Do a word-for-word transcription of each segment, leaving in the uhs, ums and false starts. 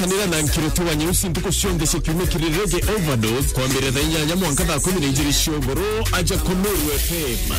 Kanira na Nkiriti wa Nyeusi ntuku cionthe cia kiumia kiri Reggae Overdose, kwambiriria thaa inyanya mwanka thaa kumi na ijiri cia ugoro, aja ku Meru F M.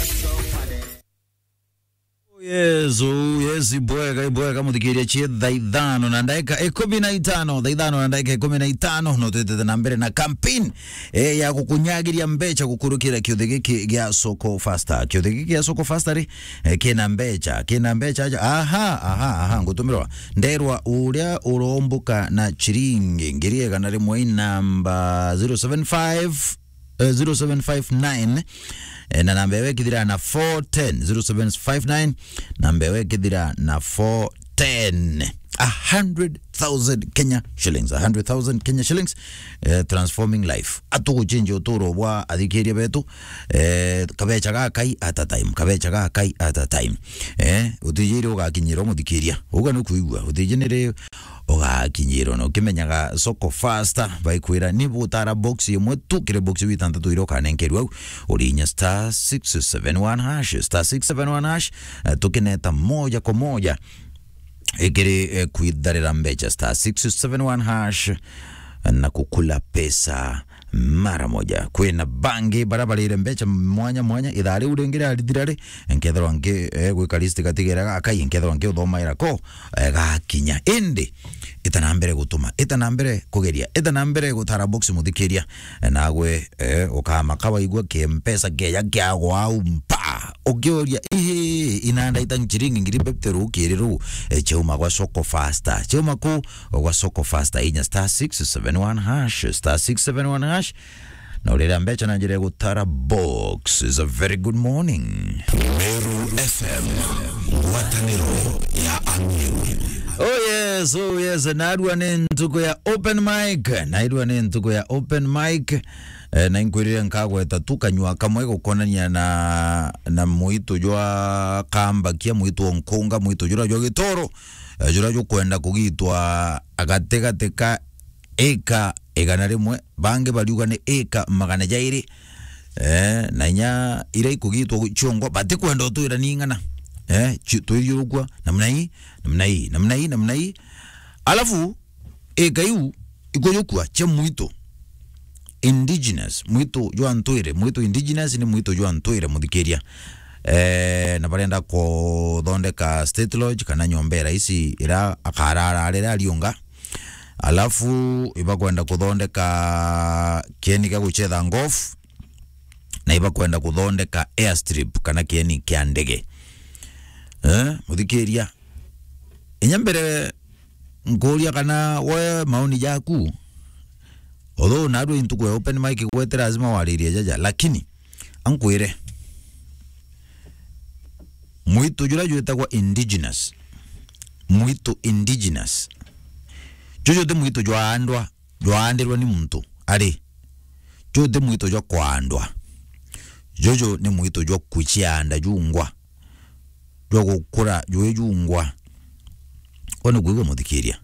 Yes, oh, yes, ibwega, ibwega, muthikiria, cie thaa ithano na ndagika ikumi na itano, thaa ithano na ndagika ikumi na itano, no twitite na mbere na campaign, eh, ya gukunyagiria mbecha gukurukira kiuthi giki gia Soko Faster. Kiuthi giki gia Soko Faster ri, eh, kina mbecha, kina mbecha aja. Aha, aha, aha, ngutumirwa. Nderwa uria urombuka na chiringi ngiri igana rimwe i namba zero seven five, eh, zero seven five nine, eh, na namba ewe kithira na four ten, zero seven five nine, namba ewe kithira na four ten. A hundred thousand Kenya shillings, a hundred thousand Kenya shillings, eh, transforming life. Atuguchinjia uturo bwa athikiria betu, eh, kabecha gakai at a time, kabecha gakai at a time. Eh, utijiri ugakinyirwo muthikiria. Uga ni kuigua, utijinire ugakinyirwo. Na ukimenyaga Soko Faster, baikwira ni butara box imwe tu, kiri box iu itantatu iria ukanenkerwa au. Urinya star six seven one hash, star six seven one hash, eh, tukineta moja kwa moja ikiri, eh, kwitharira mbecha, star six seven one hash, na kukula pesa mara moja. Kwina bangi bara barire mbecha mwanya mwanya, ithaa riu ringi riarithira ri, nkethirwa nki, eh, gwika list gatigera gakai, nkethirwa nki uthomaira ko, eh, gakinya. Indi, ita na mbere gutuma, ita na mbere kugeria, ita na mbere gutara box muthikiria, eh, nagwe, eh, ukamaka waigua kimpesa keja kiagwa au mpa. Ukiuria, "Ii, inanda ita chiringi ngiri fifty rukiri ru, eh, chauma gwa Soko Faster." Chauma ku gwa Soko Faster, inya star six seven one hash, star six seven one hash. Na urira mbecha na njira ya gutara box. Is a very good morning. Meru F M, ngwataniro ya Amiru. Oh yes, oh yes, narua ni ntuku ya open mic, narua ni ntuku ya open mic. Eh, na inkwirire nkagweta tu kanyua kamwe gukonania na, na muito jwa kambakia, muito o nkunga, muito jura jwa gitoro, eh, jura jukwenda kugitwa gatigati ka ika igana rimwe, bangi bariuga ni ika magana jairi, eh, na inya iria ikugitwa ciongwa, batikwenda utwira ni ing'ana, eh, ci-, twithiurukua namna hii, namna hii, namna hii, namna hii. Alafu, ika iu ikujukua cia muito indigenous, muito jwa ntwire, muito indigenous ni muito jwa ntwire, muthikiria. Eh, na barenda kuthondeka state lodge kana nyomba ya raisi ira akarara riria ariunga. Alafu ibakwenda kuthondeka kieni gia guchetha golf, na ibakwenda kuthondeka airstrip kana kieni kia ndege. Eh, muthikiria. Inya mbere nkuria kana we maoni jaku, although narua intuku ya open mic gwete lazima waririe jaja, lakini ankwire, muito jura jwitagwa indigenous, muito indigenous, juju ti muito jwaandwa, jwaandirwa ni muntu ari, juju ti muito jwa kwaandwa, juju ni muito jwa kucianda jungwa, jwa gukura jwi jungwa. Kwani kwigua muthikiria?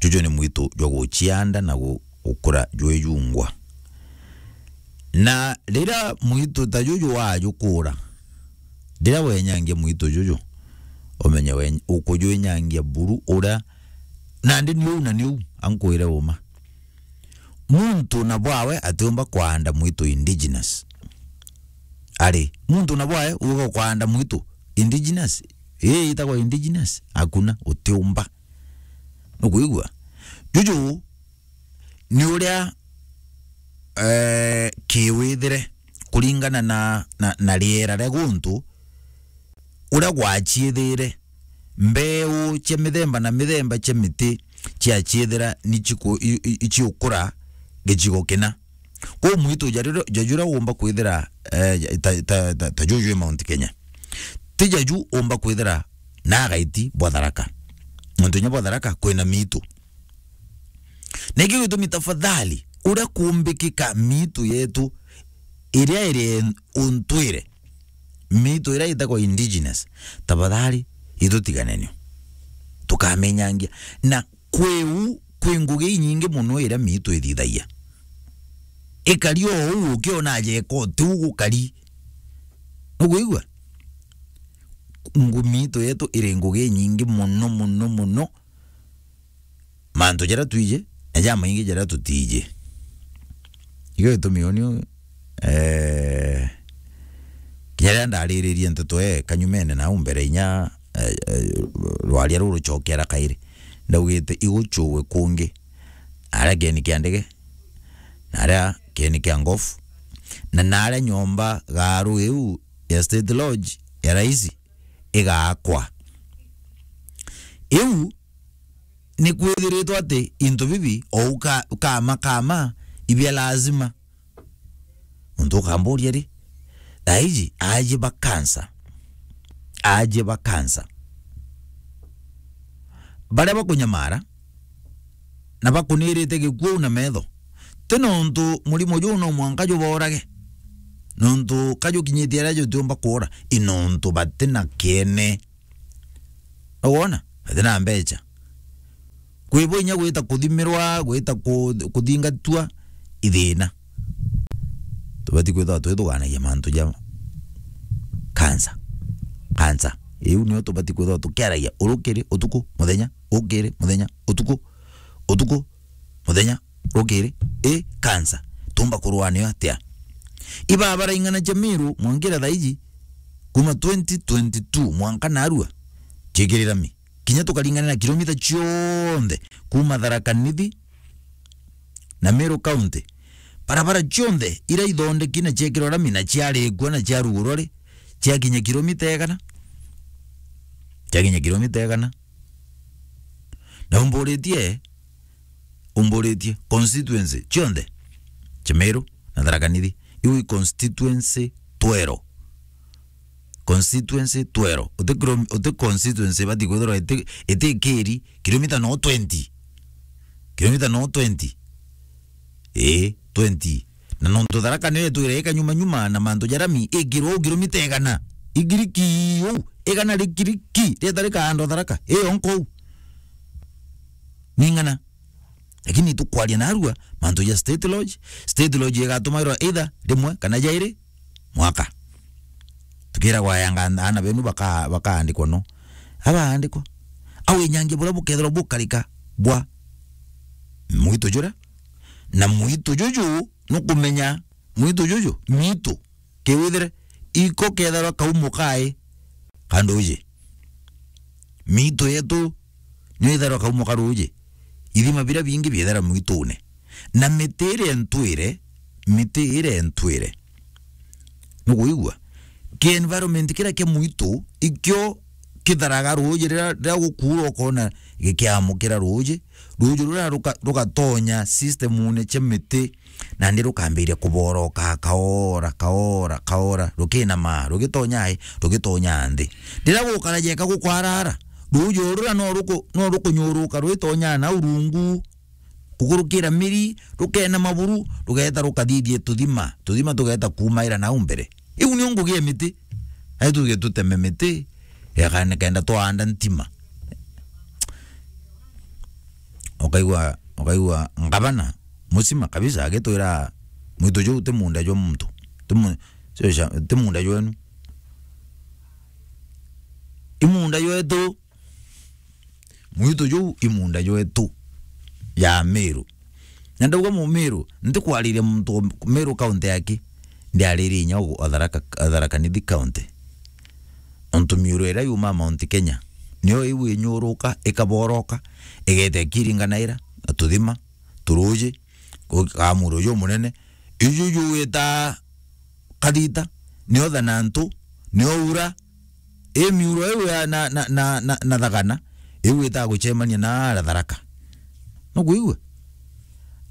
Juju ni muito jwa gucianda na gu-, gukura jwi jungwa. Na riria muito ta juju wajukura, riria wenyangia muito juju, umenye we-, ukujwinyangia buru uria, nandi ni uu na ni uu, ankwire uma. Muntu na bwawe atiumba kwaanda muito indigenous. Ari, muntu na bwawe uga kwaanda muito indigenous? Ii, itagwa indigenous? Hakuna, utiumba. Nukwigua? Juju ni uria, eh, kiwithire kuringana na, na, na riera ria guntu, uria gwaciithire, mbeu cia mithemba na mithemba cia miti ciaciithira ni ciku-, i-, i-, iciukura gicigo kina. Kwou mwitu ja riria, ja juria umba kwithira, eh, ta, ta, ta, ta juju i Mount Kenya, ti jaju umba kwithira na agaiti bwa Tharaka. Nontu inya bwa Tharaka kwina miitu. Na ikio gitumi tafadhali, uria kumbikika miitu yetu iria iri untwire, miitu iria itagwa indigenous, tafadhali, itutiganenio. Tukamenyangia. Na kwi u, kwi ngugi inyingi mono iria miitu ithithagia. Ikari o uu ukiona aja eka uti u gukari. Nukwigua? Ngu-, miitu yetu iri ngugi inyingi mono, mono, mono. mantu jaria twiji, na jamaingi jaria tutiji. Igo gitumi uni, eh, kinya riria ndariririe nteto ee kanyumene nau mbere inya, eh, eh, rwaria ruru rucokera kairi, ndaugite igucuwe kungi, aria kieni kia ndege, na aria kieni kia ngofu, na naria nyomba garu iu ya State Lodge ya raisi igakwa. Iu ni kwithiritwe ati into bibi o uka-, ukama, kama, ibia lazima. Untu ukamburia ri, thaiji aji ba kansa, aji ba kansa, baria bakunyamara na bakunirite gikuo na metho, ti nontu murimo juu no mwanka juborage, nontu ka jukinyitie aria jutiumba kuura, i nontu bati na kiene. Ugwona? Bati na mbecha. Kwi bo inya gwita kuthimirwa, gwita ku-, kuthingatwa, i thina. Tubati kwithirwa twithuganagia mantu ja kansa. Kansa. Iu nio tubati kwithirwa tukiaragia urukiri, utuku, muthenya, ukiri, muthenya, utuku, utuku, muthenya, rukiri, i kansa. Tumba kurua nayo atia? Ibabara ing'ana cia Meru mwankira thaiji, kuma twenty twenty-two mwanka narua, ciikirira mi. Kinya tukaringana na kilomita cionthe kuma Tharaka Nithi na Meru County, barabara cionthe iria ithondeki na ciekirwa rami na ciarikua na ciarugurwa ri, ciakinya kilomita igana? Ciakinya kilomita igana? Na umburitie, umburitie constituency cionthe cia Meru na Tharaka Nithi, iu i constituency twero. Constituency twero. Uti kiro-, uti constituency ibati kwithirwa iti, iti kiri kilomita no twenty. Kilomita no twenty. Ii, twenty. Na nontu Tharaka niyo itwire ikanyuma nyuma na mantu ja rami, ikirwa uu kilomita igana. Igiriki uu, igana rikiriki, rieta rikaandwa Tharaka. Ii, onko uu. Ni ng'ana. Lakini tukwaria narua mantu ja State Lodge. State Lodge igatumairwa either rimwe kana jairi mwaka. Tukiragwa ayanga aana benu baka-, bakaandikwa no. Abaandikwa. Au inyangia buria bukethirwa bukarika bwa mwitu juria. Na mwitu juju nukumenya mwitu juju, mitu. Kiwithire, iko kethirwa kaumo kai ka nduji. Mitu yetu niyo itharwa kaumo ka ruji. Ithima biria bingi biethera mwitune. Na miti iria entwire, miti iria entwire. Nukuigua? Ki environment kiria kia mwitu, ikio kitharaga ruji riria, riria gukuura ukona gikiamukira ruji. Ruji ruria ruka-, rugatonya systemune cia miti, nandi rukambiria kuboroka kaora, kaora, kaora, rukinama, rugitonya ai, rugitonya nthi. Riria gukara jeka gukwarara, ruji ruria no ruku-, no rukunyuruka rwitonya na urungu, kukurukira miri, rukenama buru, rugeeta rukathithia tuthima, tuthima tugeeta kuumaira nau mbere. Iu nio ngugi ya miti. Ai tuge tuteme miti, eka-, nikenda twaanda ntima. Ukaigua, ukaigua ngavana musima kabisa agitwira, "Mwitu juu ti munda jwa muntu. Ti mu-, sio sha-, ti munda jwenu. I munda jwetu." Mwitu juu i munda jwetu ya Meru. Na ndauga Mumiru, ntikwariria muntu wa Meru County aki, ndiaririe inya o Tharaka, Tharaka Nithi County. Ontu miuru iria yumaa Mount Kenya, niyo iu inyuruka, ikaboroka, igeta ikiringanaira na tuthima, turuji, ku-, kamuro jumunene, iju juwita kathita, nio thanantu, nio ura, i miuro iu ya na, na, na, na, na thagana, iu itaga gucemania na ara Tharaka. Nukwigua?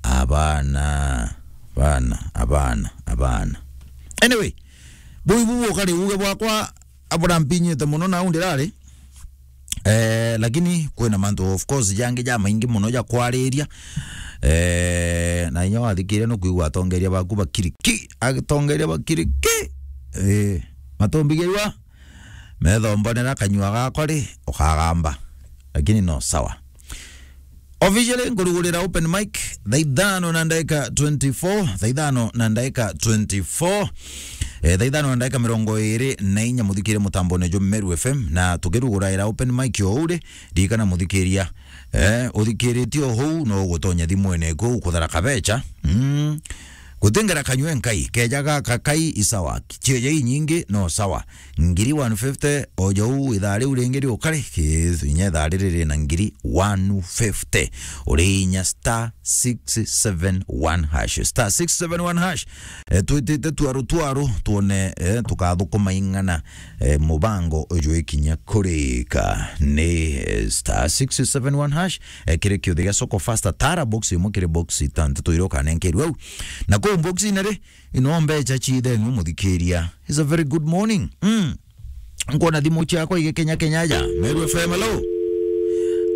Abana, abana, abana, abana. Anyway, bui bubu ukari uge bwakwa, abura mpinyite muno nau ndirari. Eh, lakini kwina mantu, of course, jangi jamaingi muno ja kwariria. Eh, na inya wathikiria nukwigua atongeria baku bakiriki, atongeria bakiriki. Eh, matumbigirwa, methombonera kanyua gakwa ri, ukagamba. Lakini no sawa. Officially, nkurugurira open mic, thaa ithano na ndagika twenty-four, thaa ithano na ndagika twenty-four, eh, thaa ithano na ndagika mirongo iri na inya, muthikire mutambone jwa Meru F M, na tukiruguraira open mic o uri, ririkana muthikiria, Eh, uthikiritie o huu, no ugutonya thimwene kuu kuthara kabecha. Mm. Gutingera kanywe nkai, keja gaka kai isawa. Chieja inyingi, no sawa. Ngiri one fifty, oja uu ithaa riu ringi riukari, ki-, inya ithaa riri rina ngiri one fifty. Uri inya star six seven one hash. Star six seven one hash. Eh, twitite twaru twaru, twone, eh, tukathukuma ing'ana, eh, mubango jwikinya kurika. Ni, eh, star six seven one hash, eh, kiri kiuthi gia Soko Fasta, tara box imwe kiri box itantatu iria ukanenkerua au. Na kuu box ina ri, ino mbecha chitheng'u muthikiria. It's a very good morning. Mm. Nkwona thimu ciakwa igikenya kenya aja. Meru F M, hello.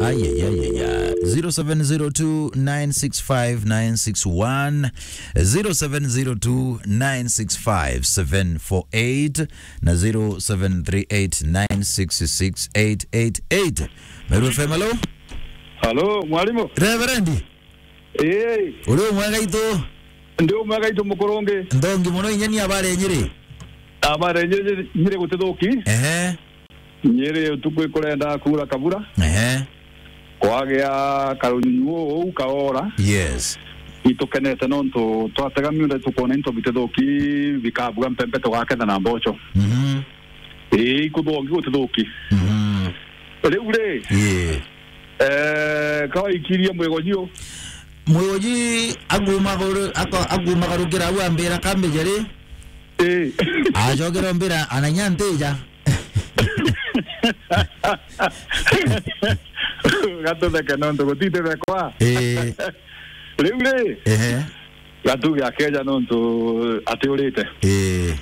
Ayayayaya. Zero seven zero two nine six five nine six one, zero seven zero two nine six five seven four eight na zero seven three eight nine six six eight eight eight. Meru F M, hello. Halo, mwalimu. Reverend. Ii. Uri umwe gaitu? Ndi umwe gaitu mukurungi. Nthongi muno inya ni abare Nyiri. Abare Nyiri, Nyiri gutithuki. Ehe. Nyiri utuku ikurenda kuura kabura. Ehe. Kwagia karunyunyu uu kaora. Yes. Itukenete nontu twatega miunda tukwona into bitithuki bikabua mpempe tugaketha na mboco. Mhm. Ii, ikuthongi gutithuki. Mhm. Riu ri, ii, eh, kawaikirie mwigoji u. Mwigoji agumagaru-, ako-, agumagarukira au ambira, "Kambija ri?" Ii. Acokera ombira, "Ananya ntija." Gatutheke nontu gutitithekwa. Ii. Riu ri, ehe, gatuge akeja nontu atiurite. Ii.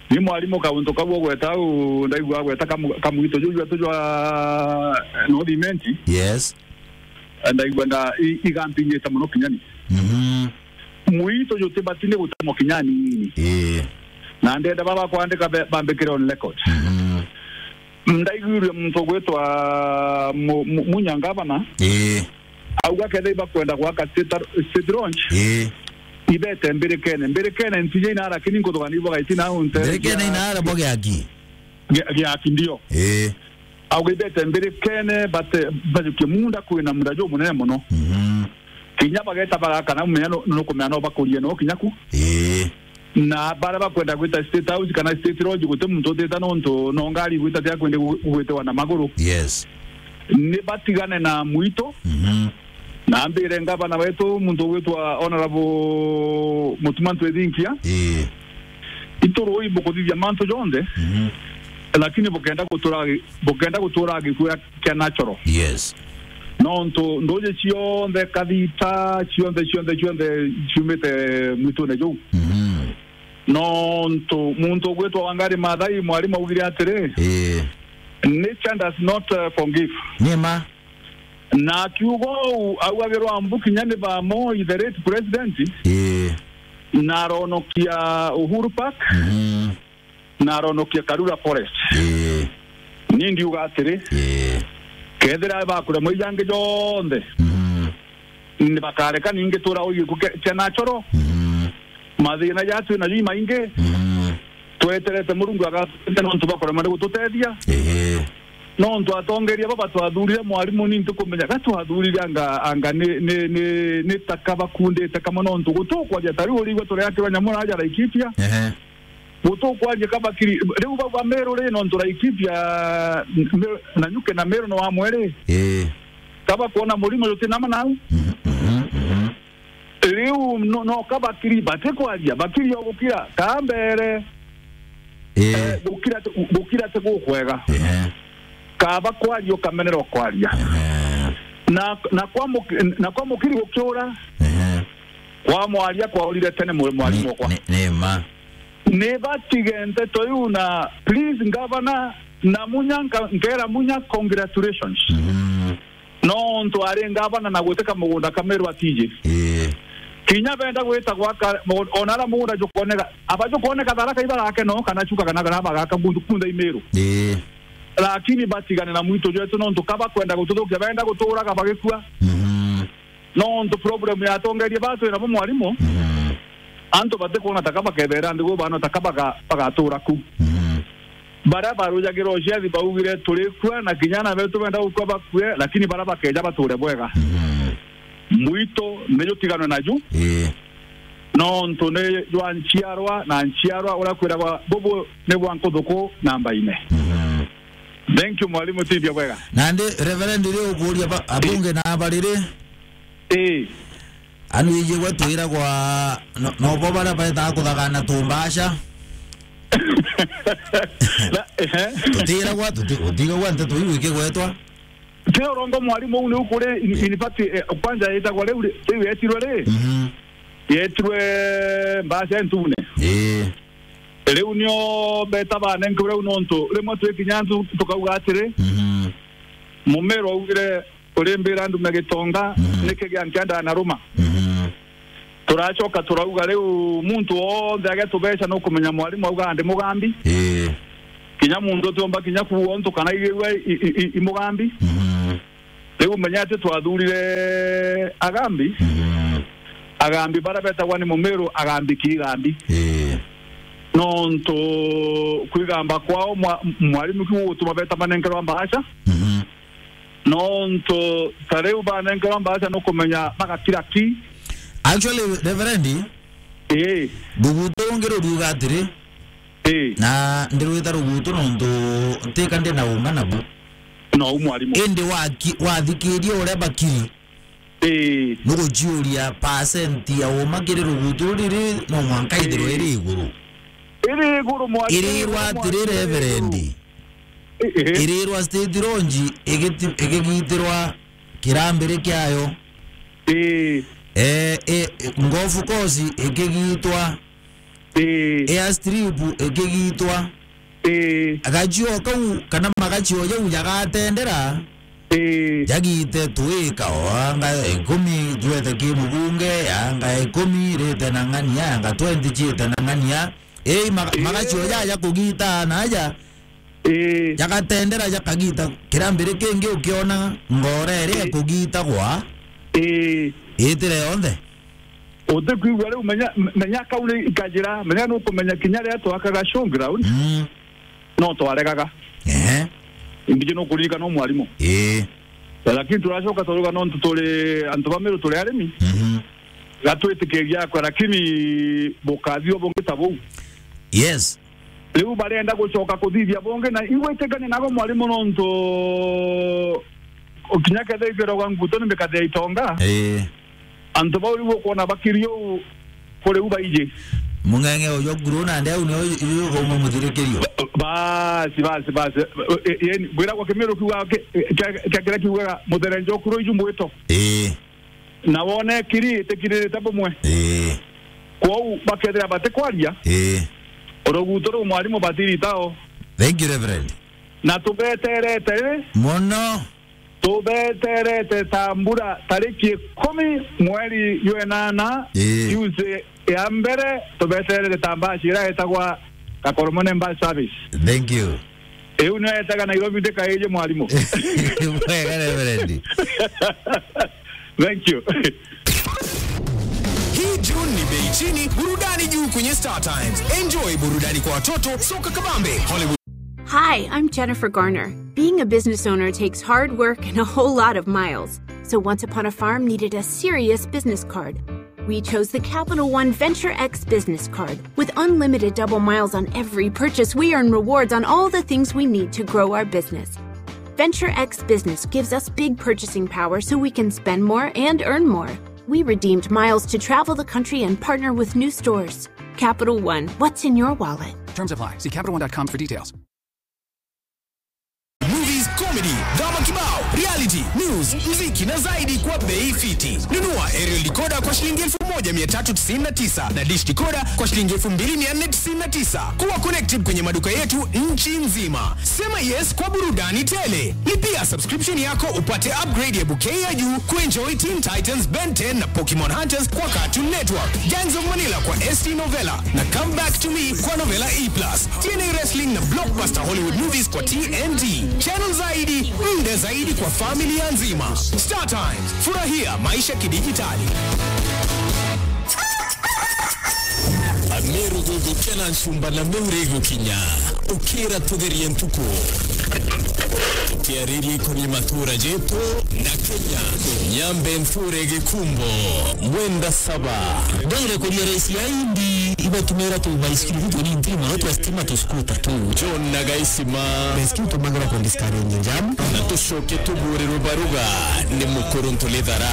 Ni mwarimu kauntu kau ugweta au, ndaigua agweta kamu-, kamwito juju atu jwa North Imenti. Yes. Ndaigua nda-, i-, igampinyite muno kinyani. Mhm. Mwito jutibati ni gutemwa kinyani ini. Ii. Na ndenda baba kwandika be-, bambikire on record. Mhm. Ndaiguire muntu ugwitwa Mu-, Mu-, Munya ngavana. Ii. Auga kethira ibakwenda gwaka state, state launch, ii, ibete mbirikene. Mbirikene ntije inara, lakini nkuthugania ibwagaitina au ntere. Mbirikene inara bwa giaki? Gia-, giaki ndio. Ii. Auga ibete mbirikene, bate, bajukie munda kwina munda jumunene muno. Mhm. Kinya bageta bagaka na mumenya nu-, nukumenya no bakurie no kinya ku. Ii. Na baria bakwenda gwita State House kana State Lodge, guti muntu utita nontu no ngari igwita tia kwende gu-, gwitiwa na maguru. Yes. Ni batigane na mwito. Mhm. Na mbire ngavana wetu, muntu ugwitwa Honorable Mutuma Ntwithinkia. Ii. Itu rui bukuthithia mantu jonthe, mhm, lakini bukenda gutura gi-, bukenda gutura gikua kia natural. Yes. Nontu nduji cionthe, kathita, cionthe, cionthe, cionthe ciumite mwitune juu. Mhm. Nontu muntu ugwitwa Wangari Maathai, mwarimu augire atiri, ii, "Nature does not, uh, forgive." Ni ma. Na akiuga uu, augagirwa mbu kinya ni ba Moi, the late president, ii, na aronokia Uhuru Park. Mhm. Na aronokia Karura Forest. Ii. Ni ndiuga atiri, ii, kethira bakuremwa ijangi jonthe, mhm, ni bakareka ningi tura uyu ku ke-, kia natural. Mhm. Mathina ja twina ju imaingi. Mhm. Tweterete Murungu agatutethia nontu bakuremwa ni gututethia. Ii. Nontu atongeria baba twathurire mwarimu ni ntikumenya ga twathurire anga, anga ni, ni, ni, ni taka bakundite kamwe nontu gutukwaria ta riu urigua tureakirwa nyamu raja Laikipia. Ehe. Gutukwaria kabakiri, riu bau ba Meru ri, nontu Laikipia, Meru, Nanyuki na Meru ni wamwe ri? Ii. Kabakwona murimo jutinama nau? Mhm, mhm, mhm. Riu no, no kabakiri, batikwaria, bakiri o gukira, ka mbere. Ii. Eh, gukira ti, gukira ti gukwega. Ehe. Kaba kwaria ukamenera ukwaria. Ehe. Na, na kwa muki-, na kwa mukiri gukiura, ehe, kwa mwaria kwaurire tene mwa-, mwarimu ni, okwa. Ni, ni ma. Ni batige nteto iu na please, Governor, na Munya nka-, nkera Munya congratulations. Mhm. Nontu ari ngavana na guteka mugunda ka Meru atiji. Ii. Kinya benda gwita gwaka, ona ara mugunda jukoneka, aba jukoneka Tharaka ibarake no, kana Chuka kana kana bagaka kundu kuntha i Meru. Ii. Lakini batigane na mwitu jwetu nontu kaba kwenda gututhukia, benda guturaga bagikua. Mhm. Nontu problem ya atongeria batu ina bo mwarimu, mhm, antu batikwona taka bakethera nthi gwe bano taka baga-, bagatura ku. Mhm. Baria barujagira uciathi baugire, "Turikua, na kinya ana betu benda gukua bakue, lakini baria bakeja bature bwega." Mhm. Mwitu ni jutiganwe naju. Ii. Nontu ni jwa nchiarwa na nchiarwa, uria kwiragwa, bubu ni bwa nkuthuku namba ine. Mhm. Thank you, mwalimu, tithia bwega. Nandi, Reverend, ri ukuria ba-, abunge na abariri? Ii. Anu iji gwe twiragwa, no, no bo baria betaga kuthagana tumbasha. Na, ehe. Tutiragwa, tuti-, utigagwa nteto iu ikigwetwa. Ti urongo mwalimu, uu ni ukuri, in, in fact, eh, kwanza yetagwa riu ri-, riu yetirwe ri? Mhm. Yetirwe mbasha entune. Ii. Riu nio beta banenkerwe riu nontu rimwe twikinya ntu tukauga atiri, mhm, Mumiru augire, "Urimbira ndume gitonga, mhm, niki gia nkianda na ruma?" Mhm. Turacoka turauga, "Riu muntu wonthe agetubeca nukumenya mwarimu auga ndi mugambi." Ii. Kinya muntu utiumba kinya kuuga untu kana igirua i, i, i, i mugambi. Mhm. Riu menya ati twathurire agambi. Mhm. Agambi baria betagwa ni Mumiru, agambi ki igambi. Ii. Nontu kwigamba kwao mwa-, mwarimu kiu gutuma beta manenkerwa mbaacha. Mhm. Nontu ta riu banenkerwa mbaacha nukumenya bagakira ki? Actually, Reverend, ii, rugutu rungi ruriuga atiri, ii, na ndirwita rugutu nontu ntika ndi na uma nabu. No, u mwarimu. Indi waki-, wathikiria uria bakiri, ii, nuguciuria percent ya uma kiri rugutu riri no mwanka ithirwe, ii, iri iguru. Iri iguru, mwarimu, irirwa iguru, atiri, mwarimu, Reverend. Ii, ii. Irirwa State Lodge igiti-, igigitirwa kirambiri kiayo. Ii. Eh, eh, golf course ikigitwa. Ii. Airstrip ikigitwa. Ii. Gachio kau kana magachio jau jagatendera. Ii. Jagite twika o anga ikumi jwete ki mubunge, anga ikumi rite na ng'ania, anga twenty ciite na ng'ania. Ii, maga-, ii, magachio jaja kugita naja. Ii. Jagatendera jakagita kirambiri kingi ukiona ngora iria, ii, ikugitagwa. Ii. Itire yonthe. Utikwigua riu, menya, menya kau ni ikajira, menya nukumenya kinya riria twakaga showground, mm, no twaregaga. Ehe. Imbiji nukuririkana u mwarimu. Ii. Lakini turacoka turuga nontu turi antu ba Miru, turi arimi. Mhm. Gatwitikiria akwa, lakini bukathio bungi ta buu. Yes. Riu barenda gucoka kuthithia bungi, na igwitikania nago mwarimu, nontu kinya kethira ikwiragwa nguto ni mikathi ya itonga. Ii. Antu bau riu ukwona bakiri uu kuri u baiji. Mung'eng'e uju kuru nandi au nio yu-, yu-, umumuthirikirio. Basi, basi, basi. E, e, yani, ngwiragwa Kimiru kiuga ki-, kia, kia kiria kiugaga, "Mutherenjo kuru iju mbwito." Ii. Na wone kiri itikiririte bumwe. Ii. Kwou bakethira batikwaria, ii, rugutu ruu mwarimu batiritao. Thank you, Reverend. Na tubeterete ri? Mono. Tubeterete ta mbura tariki ikumi mweri jwa inana, ii, Tuesday ya mbere, tubeterete ta mbaci iria yetagwa Kakoromone Bus Service. Thank you. Iu nio yetaga Nairobi ndikaiji mwarimu. Wega, Reverend. Thank you. Hii June ni bei chini, burudani juu kwenye Star Times. Enjoy burudani kwa watoto, soka kabambe, Hollywood. Hi, I'm Jennifer Garner. Being a business owner takes hard work and a whole lot of miles. So Once Upon a Farm needed a serious business card. We chose the Capital One Venture X business card. With unlimited double miles on every purchase, we earn rewards on all the things we need to grow our business. Venture X Business gives us big purchasing power so we can spend more and earn more. We redeemed miles to travel the country and partner with new stores. Capital One, what's in your wallet? Terms apply. See capital one dot com for details. Movies, comedy, drama kibao, reality, news, muziki na zaidi kwa bei fiti. Nunua aerial decoder kwa shilingi elfu moja mia tatu tisini na tisa na dish decoder kwa shilingi elfu mbili mia nne tisini na tisa. Kuwa connected kwenye maduka yetu nchi nzima. Sema yes kwa burudani tele. Lipia subscription yako upate upgrade ya bouquet ya juu kuenjoy Teen Titans, Ben ten na Pokemon Hunters kwa Cartoon Network, Gangs of Manila kwa S T Novella na Come Back to Me kwa Novella E plus, T N A Wrestling na blockbuster Hollywood movies kwa T N T. Channel zaidi, muda zaidi kwa familia nzima. Star Times, furahia maisha kidijitali. Ameru Gukena ncumba na miuri igukinya, ukira tutherie ntuku. Tukiariria ikoni matuura jetu na Kenya. Nyambe ntuure gikumbo, mwenda saba. Ndwire kuria raisi ya indi, ibatumira tu baisikiri tu ni ntiri mono twa stima tu skuta tu. John na Gaisima. Baisikiri tumagira ku discourage jam. Na tucoke tuburirwe baruga ni mukuru ntulithara.